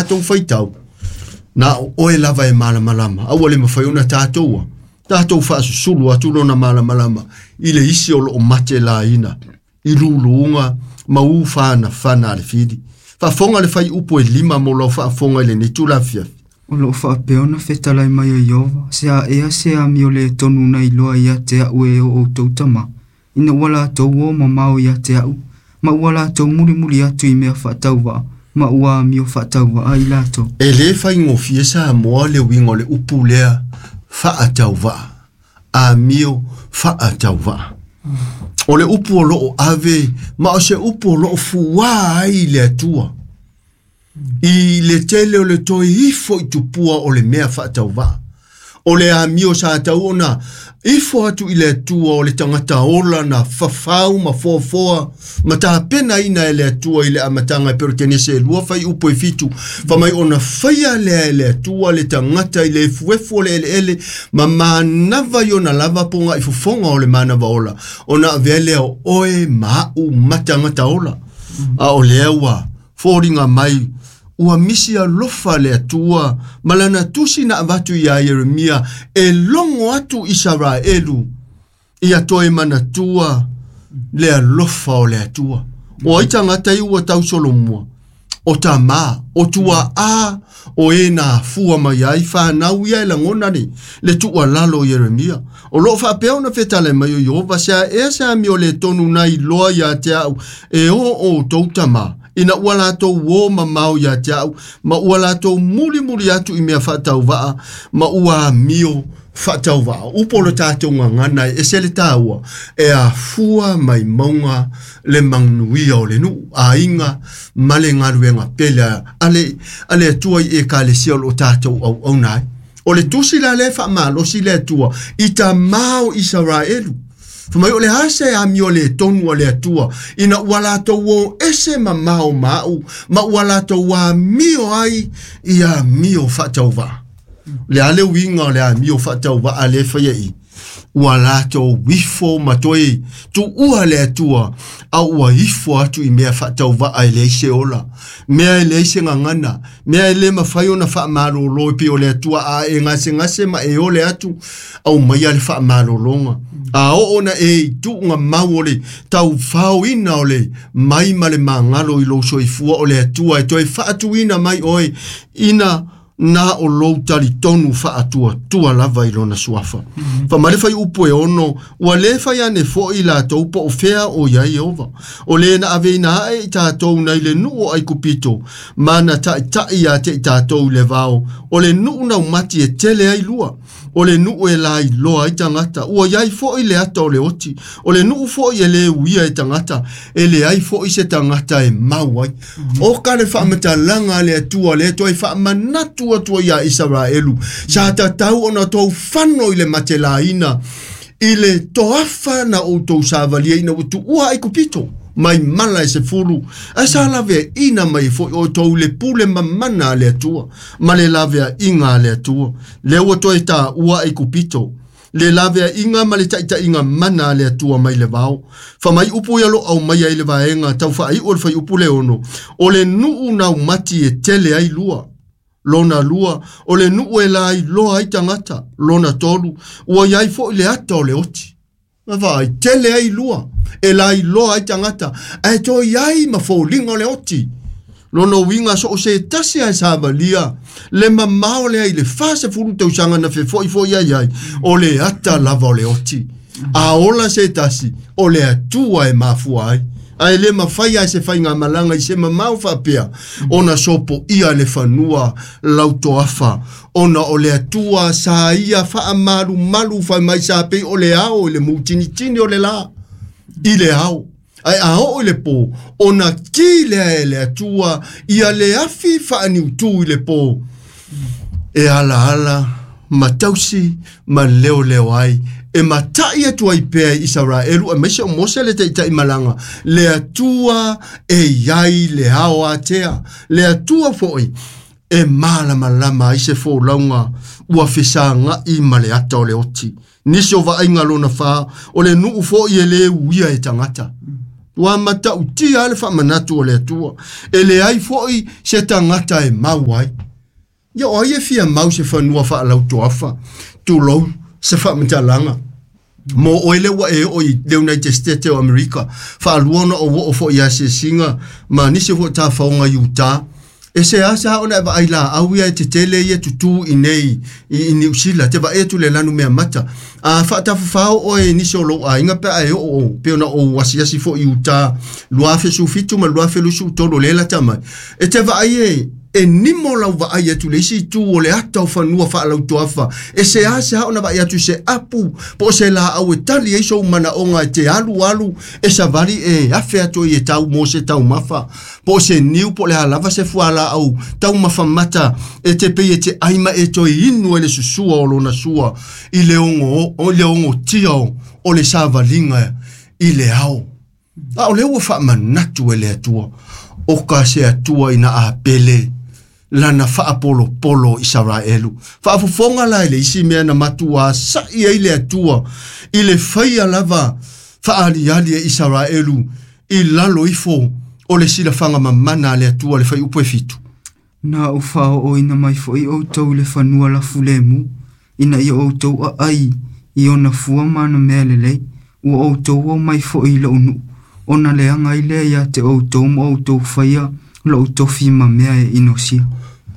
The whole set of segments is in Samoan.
tatou faitau, na o oe lava e malamalama, a ua le mafai ona tatou tatou faasusulu atu lona malamalama i le isi o loo mate laina i luluga ma ufanafana a le fili. Faafofoga le faiupu e 5 mo lau faafofoga i lenei itula afiafi. O loo faapea ona fetalai mai e Ieova, se a ea se amio le tonu na iloa ia te a'u e o outou tamā, ina ua latou o mamao ia te a'u, ma ua latou mulimuli atu i mea faatauvaa, ma ua amio faatauvaa i latou. E lē faigofie Samoa le uiga o le upu lea faatauvaa, amio faatauvaa. O le upu o loo ave ma o se upu o loo fuā ai le Atua i le tele o le toe ifo i tupua o le mea faatauvaa. O le amio sa tau ona ifo atu i le Atua o le tagata ola na fafau ma foafoa ma tapenaina e le Atua i le amataga e pei o le Kenese 2 faiupu e 7, famai ona faia lea e le Atua le tagata i le efuefu o le eleele ma manava i ona lava poga'i fofoga o le manava ola, ona avea lea o oe ma a'u ma tagata ola. A o lea ua foliga mai ua misi alofa le Atua ma lana tusi na avatu iā Ieremia e logo atu Isaraelu ia toe manatua le alofa o le Atua. O ai tagata ia ua tausolomua? O tamā, o tuaā, o e na afua mai ai fanau ia e lagona le tuualalo o Ieremia. O loo faapea ona fetalai mai o Ieova, se a ea se amio le tonu na iloa ia te a'u e o outou tamā, ina ua latou o mamao ia te a'u, ma ua latou mulimuli atu i mea faatauvaa, ma ua amio faatauvaa. Upu o le tatou gagana e ese le tāua, e afua mai mauga le manuia o le nuu, aiga ma le galuega pele a le Atua i Ekalesia o loo tatou auauna ai. O le tusi la lea faamalosi le Atua i tamā o Isaraelu. Famai o le ase amio le tonu a le Atua ina ua latou o ese mamao ma a'u, ma ua latou amio ai i amio faatauvaa. Le a le uiga o le amio faatauvaa le faia i ua latou ifo ma toe tuua le Atua, a ua ifo atu i mea faatauvaa e leai se ola, mea e leai se gagana, mea e le mafai ona faamalōlō e pei o le Atua a e gasegase ma e ole atu aumaia le faamalōlōga. A oo ona e i tuuga mau o le taufaoina o le mai ma le magalo i lou soifua o le Atua e toe faatuina mai oe ina na o lou talitonu faatuatua lava i lona suafa. Famai le faiupu e 6, ua lē fai ane fo'i latou po o fea o iai Ieova. O lē na aveina aʻe i tatou nai le nuu o Aikupito, ma na taʻitaʻi ia te i tatou i le vao, o le nuu naumati e tele ai lua, o le nuu e lailoa ai tagata, ua iai fo'i le ata o le oti, o le nuu fo'i e lē uia e tagata, e leai fo'i se tagata e mau ai. O ka le faamatalaga a le Atua lea toe faamanatu atu ai iā Isaraelu, sa tatau ona tou fano i le matelaina i le toafa na outou savalia ina ua tuua Aikupito mai mala e 10, ae sa laveaina mai fo'i outou i le pule mamana a le Atua ma le laveaiga a le Atua. Lea ua toe taua Aikupito, le laveaiga ma le taʻitaʻiga mana a le Atua mai le vao. Famai upu ia lo aumaia ai le vaega tau faaiu o le faiupu le 6, o le nuu naumati e tele ai lua. Lona 2, o le nuu e lailoa ai tagata. Lona 3, ua iai fo'i le ata o le oti. Vaai, tele ai lua, e lailoa ai tagata, ae toe iai ma foliga o le oti. Lona uiga so o se tasi ae savalia le mamao lea i le 40 tausaga na fefo'ifo'i ai ai, o le ata lava o le oti. A ola se tasi, o le Atua e mafua ai. Ae le mafai ai se faigamalaga i se mamao faapea ona sopoia le fanua lautoafa, ona o le Atua sa ia faamalumalu fai mai sa pei o le ao i le mutinitini o le lā i le ao. Ae a oo i le pō, ona ki lea e le Atua ia le afi faaniutū i le pō, e alaala ma tausi ma leoleo ai, e mataʻi atu ai pea i Isaraelu aemaise o Mose le taʻitaʻi malaga, le Atua e iai le ao atea, le Atua fo'i e malamalama ai se folauga ua fesaga'i ma le ata o le oti. Nisi o vaaiga lona 4, o le nuu fo'i e lē uia e tagata. Ua matautia le faamanatu o le Atua. E leai fo'i se tagata e mau ai. Ia o ai e fia mau se fanua faalautoafa, tulou se faamatalaga. Mo oe le ua e oo i le United States o Amerika, faalua ona ou oo fo'i i asiasiga ma nisi foi o tafaoga i Utah. E seasea ona e vaai laau ia e tetele ia tutū i nei i Niu Sila, te vaai atu le lanu mea mata. A faatafafao oe i nisi o lou aiga pe a e oo pe ona ou asiasi foi i Utah 2017 ma 2023 o lea e lata mai. E te vaai e e nimo lau vaai atu le isi itu o le ata o fanua faalautoafa. E seasea ona vaai atu se apu po o se laau e tali ai sou manaoga e te alu alu e savali e afe atu ai e tau mo se taumafa. Po o se niu po o le a lava se fualaau taumafa mata e te pei e te ai ma e toe inu ai le susua o lona sua i le ogo o le ogotia o le savaliga i le ao. A o lea ua faamanatu e le Atua o ka se Atua ina a pele lana faapolopolo Isaraelu. Faafofoga la i le isi mea na matuā sa'i ai le Atua i le faia lava faaaliali e Isaraelu i lalo ifo o le silafaga mamana a le Atua le fuaiupu e 7. Na ou faaooina mai foi outou i le fanua lafulemu, ina ia outou aai i ona fua ma ana mea lelei, ua outou omai foi i lou nuu, ona leaga ai lea ia te outou ma outou faia lou tofi ma mea e inosia.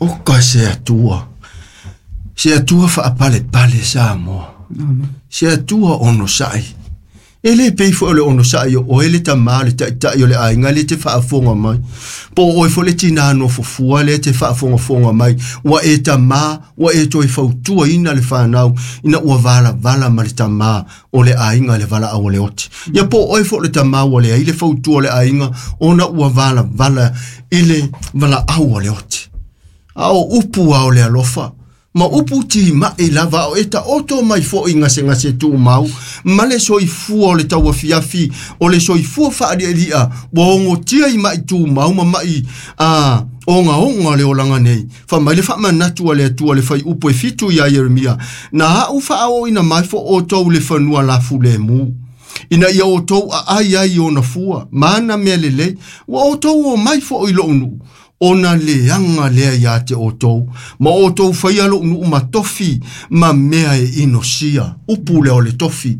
O ka se Atua, se Atua faapalepale Samoa. Amen. Se Atua onosai. E le pei foi o le onosai o oe le tamā le taitai o le aiga lea e te faafofoga mai. Po o oe foi le tinā nofofua lea e te faafogafoga mai. Ua e tamā, ua e toe fautuaina le fanau ina ua valavala ma le tamā o le aiga i le valaau a le oti. Ia po o oe foi le tamā ua leai le fautua o le aiga ona ua valavala i le valaau a le oti. A o upu a o le alofa, ma upu timai lava o e taoto mai fo'i gasegase tumau, ma le soifua o le tauafiafi, o le soifua faalialia, ua ogotia i mai tumau ma mai a ogaoga le olaga nei. Fai mai le faamanatu a le Atua le fuaiupu e 7 iā Ieremia, na a'u faaooina mai fo outou le fanua lafulemu, ina ia outou aai ai i ona fua ma ana mea lelei, ua outou omai fo'i i lo'u nuu, ona leaga lea iā te outou, ma outou faia lo'u nuu ma tofi ma mea e inosia. Upu lea o le tofi.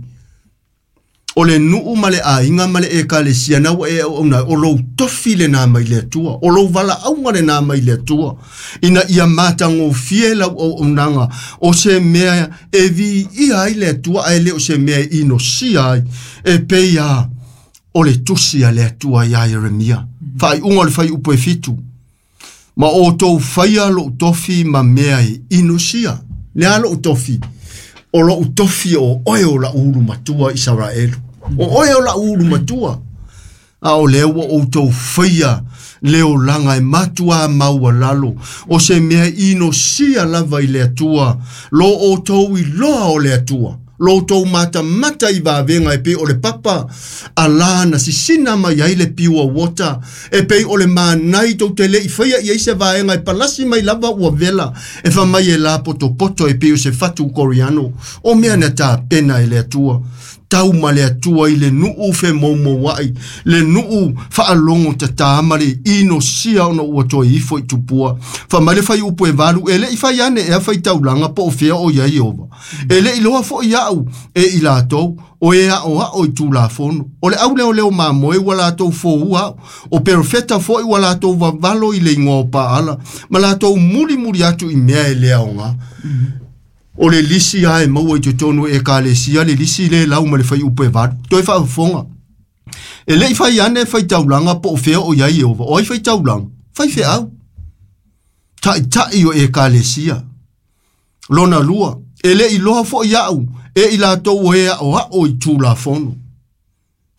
O le nuu ma le aiga ma le ekalesia na ua e auauna, o lou tofi lenā mai le Atua, o lou valaauga lenā mai le Atua, ina ia matagofie lau auaunaga, o se mea e viia ai le Atua, ae le o se mea e inosia ai, e pei a o le tusi a le Atua iā Ieremia. Faaiuga o le fuaiupu e 7. Ma outou faia lou tofi ma mea e inosia. Le a lou tofi? O lou tofi o oe o la'u ulu matua Isaraelu. O oe o la'u ulu matua. A o lea ua outou faia le olaga e matuā maualalo, o se mea inosia lava i le Atua, lo outou iloa o le Atua. Lo outou matamata i vavega e pei o le papa alā na sisina mai ai le pure water, e pei o le manai tou te le'i faia i ai se vaega e palasi mai lava ua vela, e fai mai e lapotopoto e pei o se fatu koriano. O mea na tapena e le Atua. Tau ma le Atua i le nuu femoumoua'i, le nuu faalogo tatā ma le inosia ona ua toe ifo i tupua. Fai mai le fuaiupu e 8, e le'i fai ane ea faitaulaga po o fea o iai Ieova. E le'i iloa fo'i a'u e i latou, o e a'oa'o i tulafono. O le auleoleo mamoe ua latou foua a'u, o perofeta fo'i ua latou vavalo i le igoa o Paala, ma latou mulimuli atu i mea e le aogā. O le lisi lava e maua i totonu o ekalesia, le lisi lea e lau ma le fuaiupu e 8. Toe faafofoga. E le'i fai ane faitaulaga po o fea o iai Ieova. O ai faitaulaga? Faifeau. Taitai o ekalesia. Lona lua, e le'i iloa fo'i a'u e i latou o e a'oa'o i tulafono.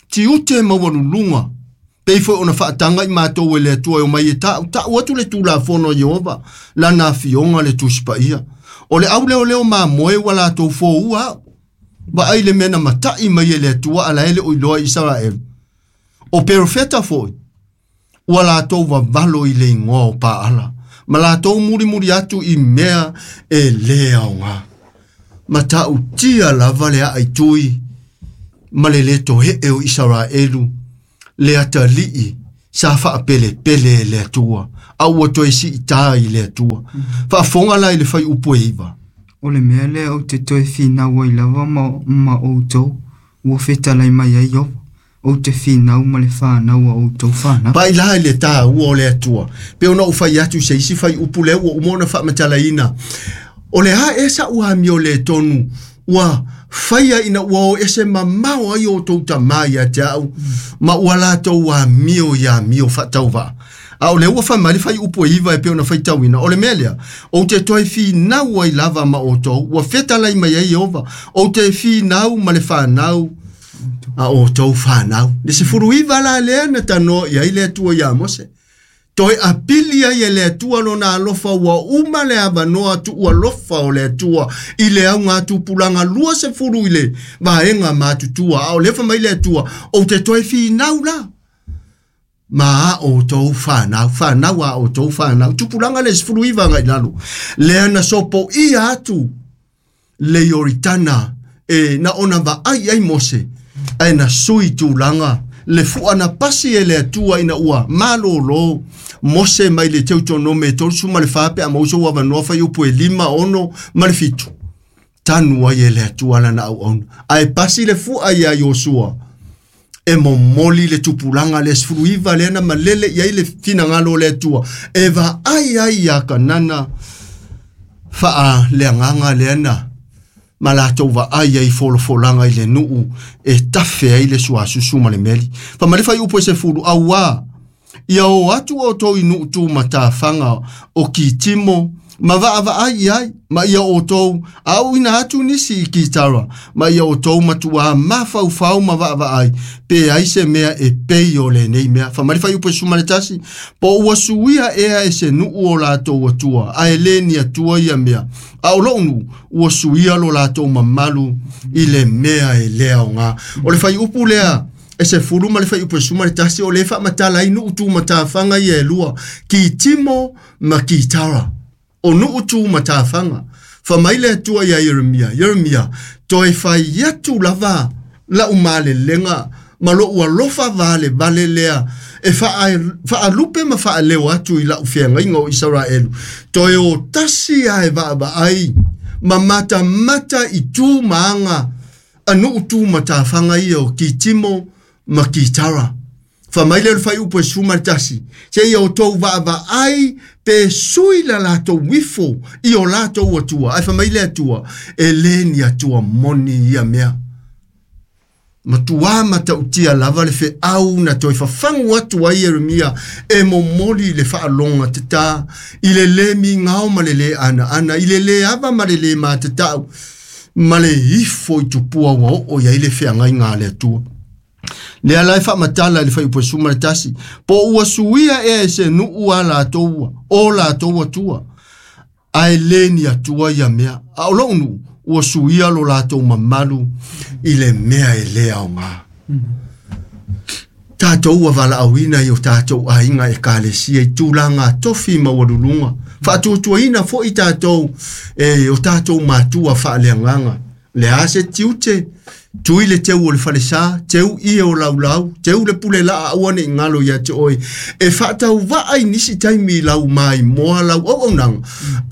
Tiute maualuluga, pei foi ona faataga i matou e le Atua e omai e ta'uta'u atu le tulafono a Ieova, lana afioga le Tusi Paia. O le auleoleo mamoe ua latou foua a'u. Vaai le mea na mata'i mai e le Atua a la e le o iloa i Isaraelu. O perofeta fo'i, ua latou vavalo i le igoa o Paala, ma latou mulimuli atu i mea e lē aogā. Matautia lava le aaitui ma le lē toe'e o Isaraelu. Le atalii sa faapelepele e le Atua a ua toe siitā i le Atua. Faafofoga la i le faiupu e 9. O le mea lea ou te toe finau ai lava ma outou, ua fetalai mai ai Ioova, ou te finau ma le fanau a outou fanau. Pai la i le tāua o le Atua, pe ona ou fai atu se isi faiupu lea ua uma ona faamatalaina. O le a ea sa'u amio lē tonu ua faia ina ua o ese mamao ai outou tamā ia te a'u ma ua latou amio ia amio faatauvaa. A o lea ua fai mai le faiupu e 9 e pei ona faitauina, o le mea lea ou te toe finau ai lava ma outou, ua fetalai mai ai Ieova, ou te finau ma le fanau a outou fanau. Le 19 la lea na tanoa i ai le Atua iā Mose. Toe apili ai e le Atua lona alofa ua uma le avanoa tuualofa o le Atua i le augatupulaga 20 i le vaega matutua. A o lea fai mai le Atua, ou te toe finau la ma a outou fanau, fanau a outou fanau. Tupulaga le 19 agai i lalo. Lea na sopoia atu le Ioritana e na ona vaai ai Mose, ae na sui tulaga le fua na pasi e le Atua ina ua malōlō Mose mai le Teutonome 34 pe a maua sou avanoa faiupu e 5, 6 ma le 7. Tanu ai e le Atua lana auauna. Ae pasi le fua ia Iosua e momoli le tupulaga le 19 lea na malele i ai le finagalo o le Atua e vaai ai ia Kanana faaleagaga lea na ma latou vaai ai folafolaga i le nuu e tafe ai le suasusu ma le meli. Fai mai le fuaiupu e 10, auā ia o atu outou i nuu tumatafaga o Kitimo ma vaavaai i ai, ma ia outou aoina atu nisi i Kitara, ma ia outou matuā mafaufau ma vaavaai pe ai se mea e pei o lenei mea. Fai mai le fuaiupu e 11, po ua suia ea e se nuu o latou atua, ae lē ni atua ia mea. A o lou nuu, ua suia lo latou mamalu i le mea e lē aogā. O le fuaiupu lea e 10 ma le fuaiupu e 11, o le faamatala ai nuu tumatafaga ia e lua, Kitimo ma Kitara. O nuu tumatafaga. Fai mai le Atua ia Ieremia, Ieremia, toe fai atu lava la'u malelega ma lo'u alofa valevale lea e faalupe ma faaleo atu i la'u feagaiga o Isaraelu. Toe o tasi ae vaavaai ma matamata i tu ma aga a nuu tumatafaga ia o Kitimo ma Kitara. Fai mai lea o le fuaiupu e 11, seia outou vaavaai pe sui la latou ifo i o latou atua. Ae fai mai le Atua, e lē ni atua moni ia mea. Matuā matautia lava le feau na toe fafagu atu ai Ieremia e momoli le faaloga tatā i le lē migao ma le lē anaana, i le lē ava ma le lē matatau, ma le ifo i tupua ua oo i ai le feagaiga a le Atua. Lea la e faamatala i le fuaiupu e 11, po ua suia ea e se nuu a latou o latou atua, ae lē ni atua ia mea. A o lou nuu, ua suia lo latou mamalu i le mea e lē aogā. Tatou ua valaauina i o tatou aiga ekalesia i tulaga tofi maualuluga. Faatuatuaina foi tatou e o tatou matua faaleagaga. Le a se tiute, tui le teu o le falesā, teu ie o laulau, teu le pule laa aua nei galo ia te oe. E faatauvaa i nisi taimi lau maimoa lau auaunaga,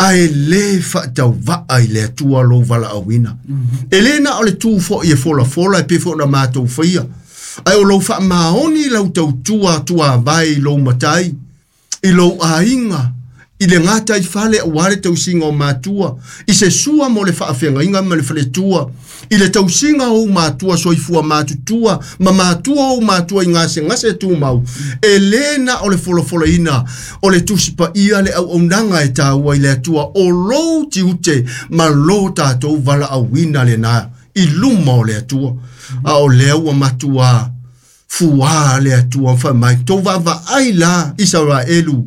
ae lē faatauvaa i le Atua lou valaauina. E lē na o le tū foi e folafola e pei foi ona matou faia, ae o lou faamaoni lau tautua tuavae i lou matai, i lou aiga, i le gata i fale auā le tausiga o matua, i se sua mo le faafeagaiga ma le faletua, i le tausiga o ou matua soifua matutua ma matua ou matua i gasegase tumau. E lē na o le folafolaina o le tusi paia le auaunaga e tāua i le Atua, o lou tiute ma lo tatou valaauina lenā i luma o le Atua. A o lea ua matuā fuā le Atua fai mai, tou vaavaai la Isaraelu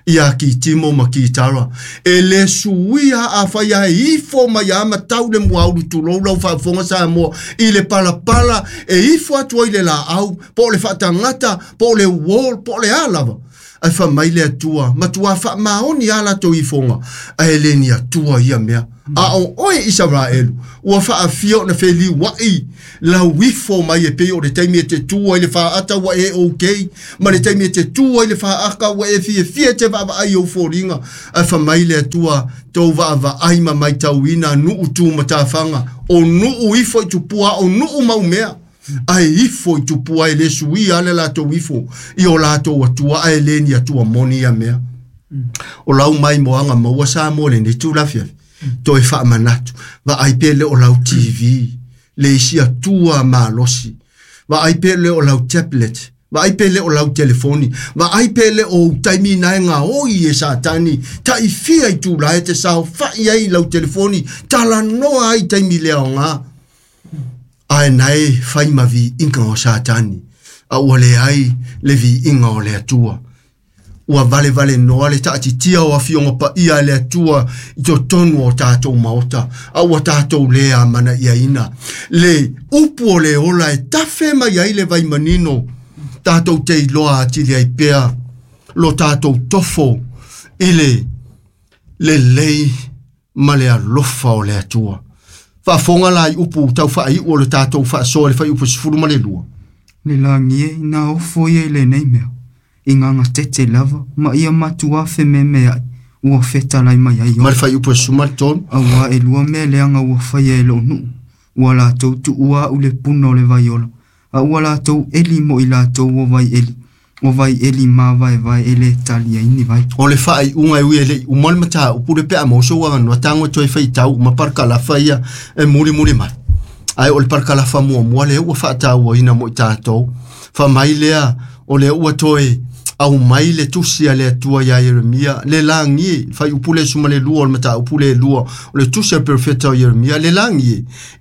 ia Kitimo ma Kitara. E lē suia afai ae ifo mai a matau le muaulu tulou lau faafofoga Samoa i le palapala e ifo atu ai le laau, po o le faatagata, po o le wall, po o le a lava. Ae faamai le Atua, matuā faamaoni lava latou ifoga, ae le ni Atua ia mea. A o oe Isaraelu, ua faafia ona feliuaʻi lau ifo mai e pei o le taimi e te tu ai le faata ua e okay, ma le taimi e te tu ai le faaka ua e fiafia e te vaavaai i ou foliga. Ae faamai le Atua, tou vaavaai ma maitauina nuu tu matafaga, o nuu ifo i tupua, o nuu mau mea. Ae ifo i tupua e le suia le latou ifo i o latou Atua, ae le ni Atua moni ia mea. O lau mai moaga maua sa mo lenei tulafiafi. Toe faamanatu, vaai pe le o lau TV, le isi Atua malosi. Vaai pe le o lau tablet, vaai pe le o lau telefoni, vaai pe le o taimi nae ngā oi e Satani, taifia i tūla e te sao fai ai lau telefoni, talanoa ai taimi lea o ngā. Ae nae fai ma viiga o Satani, a ua le ai le viiga o le Atua. Ua vale vale noa le taatitia o afioga paia e le Atua i totonu o tatou maota, a ua tatou le amanaiaina. Le upu o le ola e tafe mai ai le vaimanino, tatou te iloa atili ai pea lo tatou tofo i le lelei ma le alofa o le Atua. Faafofoga la i upu tau faaiu o le tatou faasoa le fuaiupu 12. Le lagi e ina ofo ia i lenei mea, i ngā tete lava, ma ia matua fememeai, ua fetalai mai ai Ma le fuaiupu 13. Auā e lua mea leaga ua faia e lou nuu, ua latou tuua a'u le puna o le vaiola, a ua latou eli mo i latou o vai eli, o vai eli mavaevae e le tali ai ni vai. O le faaiuga e ui e leʻi uma le mataupu le pe a maua sou avanoa tago e toe faitau uma parakalafa ia e mulimuli mai. Ae o le parakalafa muamua lea ua faatauaina mo i tatou. Faamai lea o lea ua toe aumai le tusi a le Atua iā Ieremia, le lagi e, fuaiupu le 12 o le mataupu le lua, o le tusi a le perofeta o Ieremia, le lagi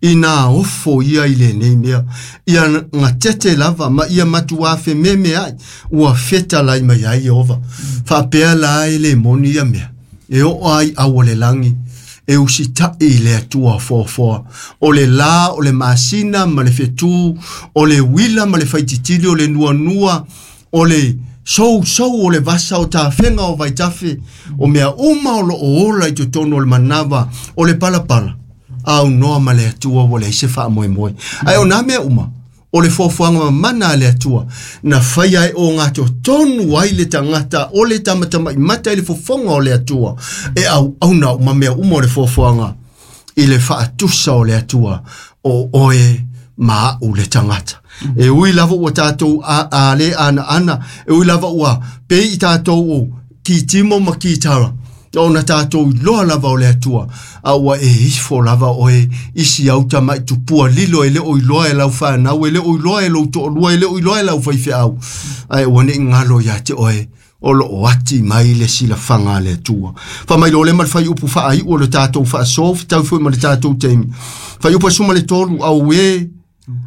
e, ina ofo ia i lenei mea, ia gatete lava ma ia matuā fememeai, ua fetalai mai ai Ieova. Faapea la e le moni ia mea, e oo ai au o le lagi, e usitaʻi i le Atua foafoa. O le lā, o le masina ma le fetū, o le uila ma le faititili, o le nuanua, o le sousou o le vasa o tafega o vaitafe, o mea uma o loo ola i totonu o le manava, o le palapala, aunoa ma le Atua ua leai se faamoemoe. Ae o nā mea uma, o le foafoaga mamana a le Atua, na faia e o gatotonu ai le tagata o le tamatamaimata i le fofoga o le Atua, e auauna uma mea uma o le foafoaga i le faatusa o le Atua, o oe ma a'u le tagata. E ui lava ua tatou a le anaana, e ui lava ua pei i tatou o kitimo ma kitara, ona tatou iloa lava o le Atua, a ua e ifo lava oe isi au tamaʻi tupua lilo e le o iloa e lau fanau, e le o iloa e lou toalua, e le o iloa e lau faifeau, ae ua nei galo iā te oe o loo ati mai le silafaga a le Atua. Faamai le ma le fuaiupu faaiu o le tatou faasoa fetau foi ma le tatou taimi. Fuaiupu 13, auē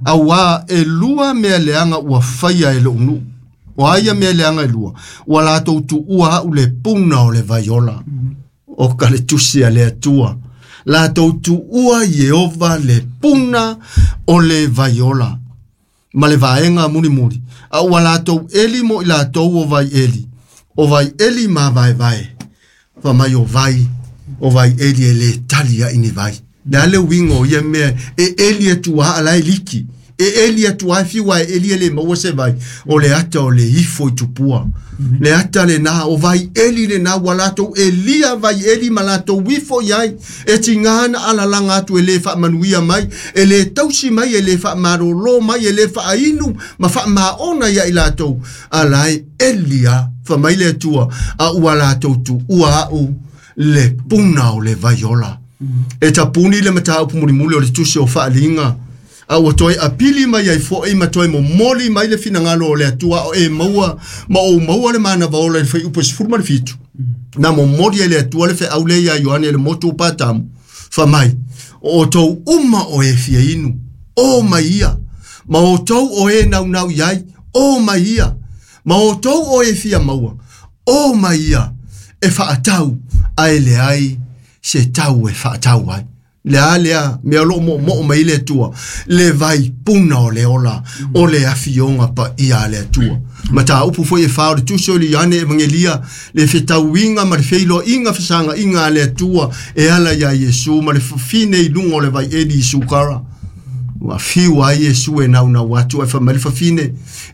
auā e lua mea leaga ua faia e lou nuu. O a ia mea leaga e lua, ua latou tuua a'u le puna o le vaiola. O ka le tusi a le Atua. Latou tuua Ieova le puna o le vaiola. Ma le vaega mulimuli. A ua latou eli mo i latou o vai eli. O vai eli mavaevae. Faamai o vai, o vai eli e le tali ai ni vai. Le a le uiga o ia mea e eli atu a ala e liki. E eli atu a fiu a e eli e le maua se vai. O le ata o le ifo i tupua. Le ata lenā, o vai eli lenā, ua latou elia vai eli ma latou ifo i ai. E tigā na alalaga atu e le faamanuia mai, e le tausi mai, e le faamalōlō mai, e le faainu ma faamaona ia i latou. A la e eli a, faamai le Atua, a ua latou tuua a'u le puna o le vaiola. E tapuni le mataupu mulimuli o le tusi o Faaliga, a ua toe apili mai ai foʻi ma toe momoli mai le finagalo o le Atua o e maua ma ou maua le manava ola i le fuaiupu 17. Na momoli ai le Atua le feau lea iā Ioane i le motu o Patamu. Faamai, o outou uma o e fia inu, o mai ia, ma outou o e naunau i ai, o mai ia, ma outou o e fia maua, o mai ia, e faatau, ae leai se tau e faatau ai. Le a lea mea o loo moomoo mai le Atua, le vaipuna o le ola, o le afioga paia a le Atua. Mataupu foi e fa o le tusi o le Ioane Evagelia, le fetauiga ma le feiloaiga fesagaiga a le Atua e ala iā Iesu ma le fafine i luga o le vaieli i Sukara. Ua fiu ai Iesu e naunau atu, ae fai mai le fafine,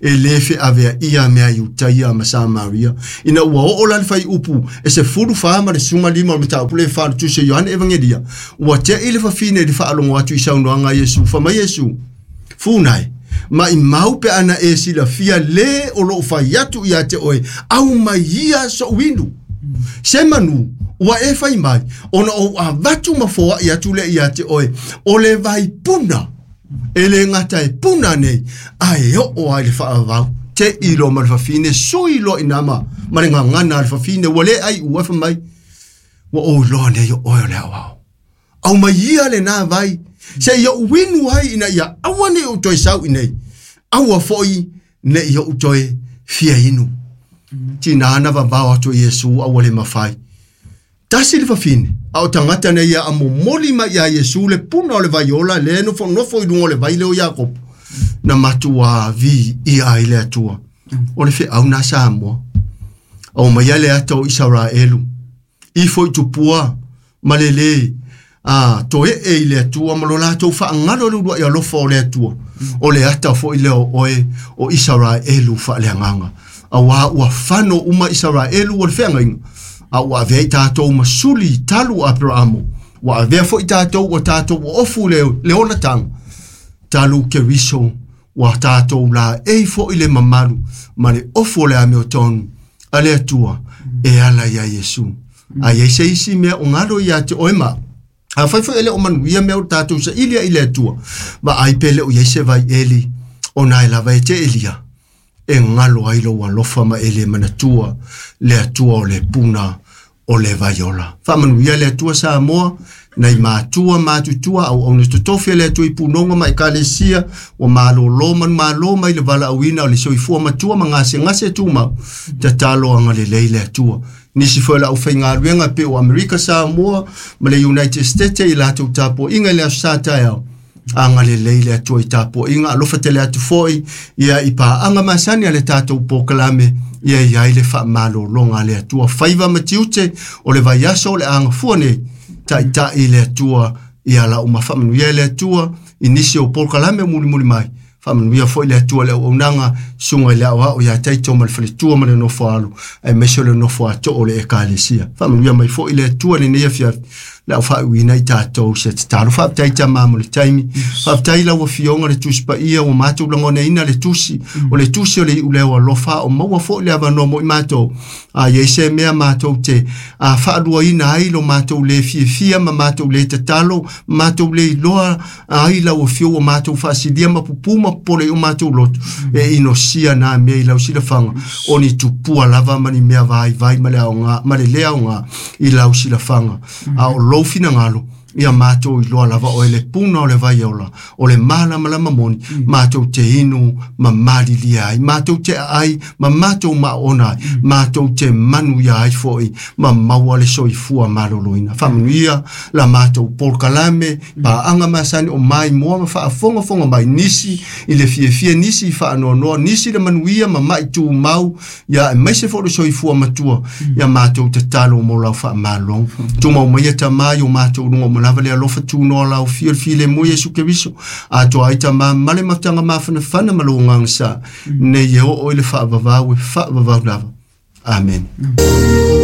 e lē feaveaʻia mea Iutaia ma Samaria. Ina ua oo la le faiupu e 14 ma le 15 o le mataupu le fa o le tusi o Ioane Evagelia, ua teʻi le fafine i le faalogo atu i saunoaga a Iesu. Fai mai Iesu, funai, maʻimau pe ana e silafia lē o loo fai atu ia te oe, au mai ia soʻu inu. Se manu, ua e fai mai, ona ou avatu ma foaʻi atu lea ia te oe, o le vaipuna, e le gata e puna nei, ae oo ai le faavavau. Te ilo ma le fafine, sui loa i nama, ma le gagana a le fafine, ua le ai ua fai mai, ua ou iloa nei o oe o le aoao. Au mai ia le nā vai, se i ou inu ai ina ia aua ne i ou toe sau i nei, aua foi ne i ou toe fia inu. Tinā na vavao atu i Iesu a ua le mafai. Tasi le fafine, a o tagata nei ia a momoli mai iā Iesu le puna o le vaiola lea e nofonofo i luga o le vai lea o Iakopo, na matuā viia ai le Atua. O le feau na Samoa. Aumaia le ata o Isaraelu, ifo i tupua ma le lē a toeʻe i le Atua ma lo latou faagalo le uluaʻi alofa o le Atua. O le ata foi lea o oe o Isaraelu faaleagaga. Auā ua fano uma Isaraelu o le feagaiga, a ua avea i tatou ma suli talu a Aperaamo. Ua avea foi tatou ua tatou oofu le, le olataga talu Keriso, ua tatou laei foi le mamalu ma le ofu o le amiotonu a le Atua e ala iā Iesu. A i ai se isi mea o galo ia te oe ma afai foi e le o manuia mea o tatou saili ai i le Atua, vaai pe le o i ai se vaieli ona e lava e te elia e galo ai lou alofa ma e le manatua le Atua o le puna o le vaiola. Faamanuia le Atua Samoa, nai matua matutua auauna totofi a le Atua i punoga ma ekalesia, ua malōlō manumalo mai le valaauina o le soifua matua ma gasegase tumau, tatalo agalelei le Atua. Nisi foi o le aufaigaluega pei o Amerika Samoa ma le United States i latou tapuaiga i le aso sa taeao, agalelei le Atua i tapuaiga, alofa tele atu foi ia i paaga masani a le tatou polokalame, ia i ai le faamalologa a le Atua. Faiva ma tiute o le vaiaso o le agafua nei, taitai le Atua ia lau ma faamanuia le Atua i nisi o polokalame o mulimuli mai. Faamanuia foi le Atua i le auaunaga, susuga i le aoao ia Taito ma le faletua ma le nofo alo, aemaise o le nofo atoo o le ekalesia. Faamanuia mai foi le Atua i lenei afiafi, le au faaiuina i tatou se tatalo. Faafetai Tama mo le taimi. Faafetai lau Afioga le Tusi Paia ua matou lagonaina le tusi, o le tusi o le iuleo alofa, o maua foi le avanoa mo i matou. A i ai se mea matou te a faaluaina ai lo matou le fiafia ma matou le tatalo, matou le iloa ai lau afio ua matou faasilia ma pupū ma popole i o matou loto, e inosia nā mea i lau silafaga, o ni tupua lava ma ni mea vaivai ma le aoga, ma le le aoga i lau silafaga. A o lou finagalo, ia matou iloa lava oe le puna o le vai ola, o le malamalama moni, matou te inu ma malilia ai, matou te aai ma matou maona ai, matou te manuia ai foi ma maua le soifua maloloina. Faamanuia la matou polokalame, paaga masani o maimoa ma faafogafoga mai nisi i le fiafia, nisi i faanoanoa, nisi le manuia ma mai tumau, ia aemaise foi le soifua matua, ia matou tatalo mo lau faamaloga. Tumau mai Tamā i o matou luga uma lava le alofa tunoa lau fia le filemu Iesu Keriso, atoa ai Tamā ma le mafutaga mafanafana ma lou agaga sa, nei e oo i le faavavau e faavavau lava. Amene.